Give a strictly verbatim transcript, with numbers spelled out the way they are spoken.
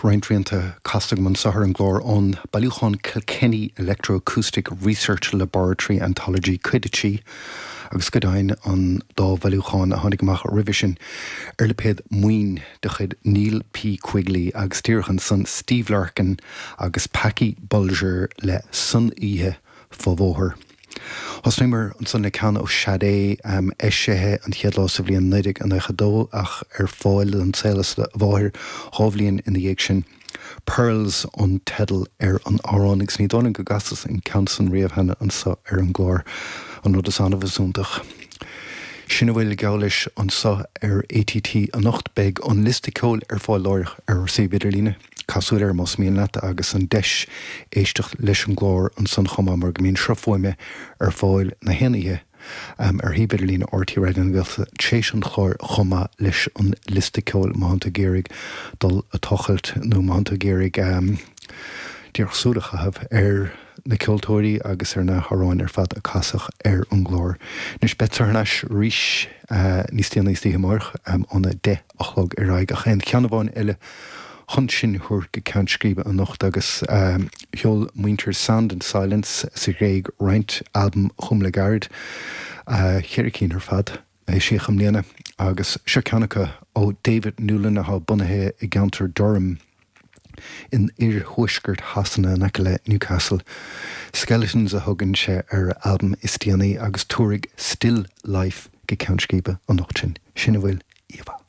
Roinnt rianta casta agam anseo ar an gclár ón bailiúchán Kilkenny Electroacoustic Research Laboratory Anthology cuid a trí agus go deimhin an dá bhailiúchán a tháinig amach roimhe sin ar lipéad Maoin de chuid Neil P. Quigley agus díreach ansan Steve Larkin agus Packie Bolger le San Oíche Fá Bhóthar. Thosnaíomar ansan le ceann ó Sade um, eisithe an chéad lá sa bhliain naoi déag nócha a dó ach ar fáil don saol is a mháthair dhá bhliain ina dhiaidh sin. Pearls an teideal ar an amhrán agus ní dóigh liom go gcasas an ceann san riamh cheana anseo ar an gclár an rud is annamh is iontach. Sin a bhfuil geall leis anseo ar ATT anocht beidh an liosta ceoil ar fáil láithreach ar ár suíomh idirlíne. Caith súil air más mian leat agus an deis éisteacht leis an gclár ansan chomh maith mar go mbíonn sruth fuaime ar fáil na haon oíche um, ar shuíomh idirlíne RTÉ Raidió na Gaeltachta tréis an chláir chomh maith leis an liosta ceoil má tá tú ag iarraidh dul a tochailt nó má tá tú ag iarraidh um, díreach súil a chaitheamh ar na ceoltóirí agus ar na hamhráin ar fad a casadh ar an gclár. Anois beidh thar n-ais arís uh, níos déanaí istoíche amárach um, óna deich a chlog ar aghaidh ach aon cheann amháin eile chun sinn a thabhairt go ceann scríbe anocht agus um, sheol muintir Sound and Silence sa Ghréig roinnt albam chugam le gairid uh, ceithre cinn ar fad eisíodh i mbliana agus seo ceann acu ó David Newlin atá bunaithe i gceantar Durham in iarthuaisceart Shasana in aice le Newcastle. Skeletons a thugann sé ar albam is déanaí agus tabharfaidh Still Life go ceann scríbe anocht sin sin a bhfuil íomha.